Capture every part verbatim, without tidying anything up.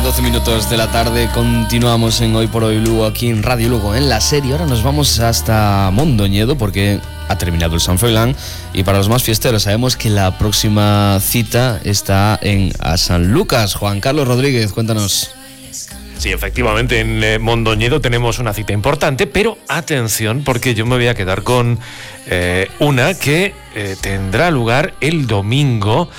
doce minutos de la tarde, continuamos en Hoy por Hoy Lugo, aquí en Radio Lugo, en la serie. Ahora nos vamos hasta Mondoñedo porque ha terminado el San Froilán, y para los más fiesteros sabemos que la próxima cita está en a San Lucas. Juan Carlos Rodríguez, cuéntanos. Sí, efectivamente, en eh, Mondoñedo tenemos una cita importante, pero atención, porque yo me voy a quedar con eh, una que eh, tendrá lugar el domingo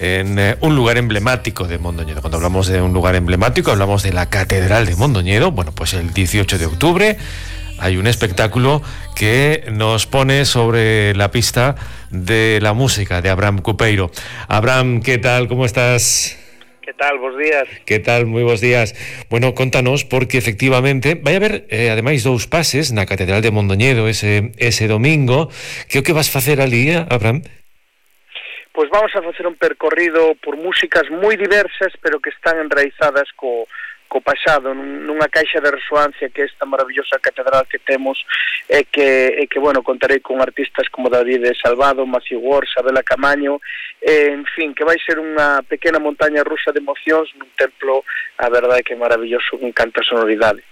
en eh, un lugar emblemático de Mondoñedo. Cuando hablamos de un lugar emblemático, hablamos de la Catedral de Mondoñedo. Bueno, pues el dieciocho de octubre hay un espectáculo que nos pone sobre la pista de la música de Abraham Cupeiro. Abraham, ¿qué tal? ¿Cómo estás? ¿Qué tal? Bos días. ¿Qué tal? Moi bos días. Bueno, contanos, porque efectivamente vai haber, eh, ademais, dous pases na Catedral de Mondoñedo ese, ese domingo. Que o que vas facer ali, Abraham? Pois vamos a facer un percorrido por músicas moi diversas, pero que están enraizadas co, co pasado, nunha caixa de resoancia que é esta maravillosa catedral que temos, e que, e que bueno, contarei con artistas como David Salvado, Matthew Ward, Sabela Camaño, e, en fin, que vai ser unha pequena montaña rusa de emocións nun templo, a verdade que é maravilloso, con canta sonoridade.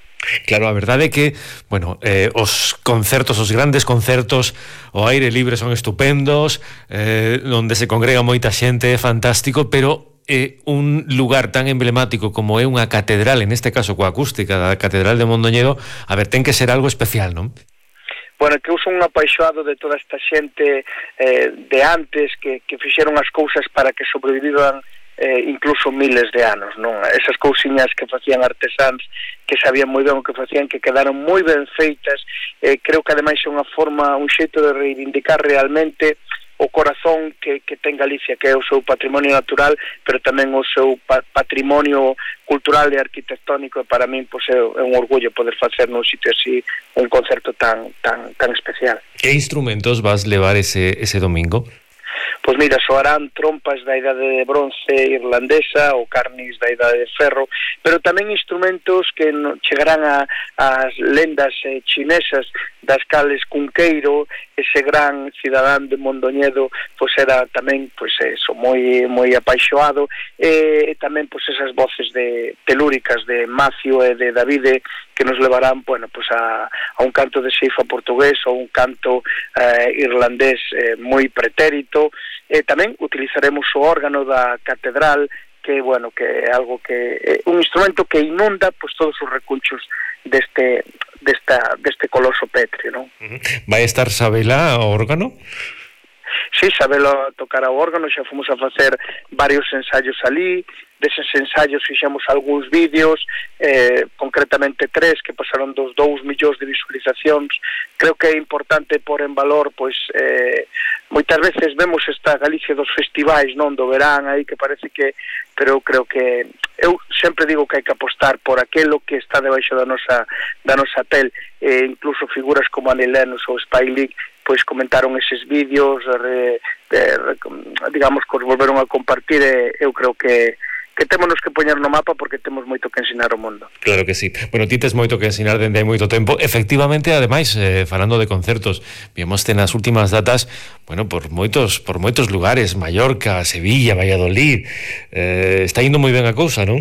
Claro, a verdade é que, bueno, eh, os concertos, os grandes concertos ao aire libre son estupendos, eh, onde se congrega moita xente, é fantástico, pero eh, un lugar tan emblemático como é unha catedral, en este caso coa acústica da Catedral de Mondoñedo, a ver, ten que ser algo especial, non? Bueno, que eu son un apaixoado de toda esta xente eh, de antes que, que fixeron as cousas para que sobreviviran eh, incluso miles de anos, non? Esas cousiñas que facían artesáns, que sabían moi ben o que facían, que quedaron moi ben feitas, eh, creo que ademais é unha forma, un xeito de reivindicar realmente o corazón que, que ten Galicia, que é o seu patrimonio natural, pero tamén o seu pa patrimonio cultural e arquitectónico, e para min pois, é, é un orgullo poder facer nun sitio así un concerto tan tan tan especial. Que instrumentos vas levar ese, ese domingo? Pois mira, soarán trompas da idade de bronce irlandesa ou carnis da idade de ferro, pero tamén instrumentos que no, chegarán a, as lendas eh, chinesas, das cales Cunqueiro, ese gran cidadán de Mondoñedo, pois era tamén, pois eso, moi moi apaixoado, e, e tamén pois esas voces de telúricas de Macio e de Davide, que nos levarán, bueno, pues a, a un canto de ceifa portugués ou un canto eh, irlandés eh, moi pretérito. E tamén utilizaremos o órgano da catedral, que, bueno, que é algo que é un instrumento que inunda pues todos os recunchos deste desta deste coloso pétreo, non? Uh-huh. Vai estar Sabela ao órgano? Sí, Sabela tocará o órgano, xa fomos a facer varios ensaios ali. Deses ensaios fixemos algúns vídeos, eh, concretamente tres, que pasaron dos dous millóns de visualizacións. Creo que é importante pôr en valor, pois, eh, moitas veces vemos esta Galicia dos festivais, non, do verán, aí que parece que, pero eu creo que, eu sempre digo que hai que apostar por aquelo que está debaixo da nosa, da nosa pel, e incluso figuras como Annie Lennox ou Spike Lee, pois comentaron eses vídeos, re, re, digamos, que os volveron a compartir, e eu creo que que témonos que poñer no mapa porque temos moito que ensinar ao mundo. Claro que sí. Bueno, ti tes moito que ensinar dende hai moito tempo. Efectivamente, ademais, eh, falando de concertos, vimoste nas últimas datas, bueno, por moitos por moitos lugares, Mallorca, Sevilla, Valladolid. Eh, está indo moi ben a cousa, non?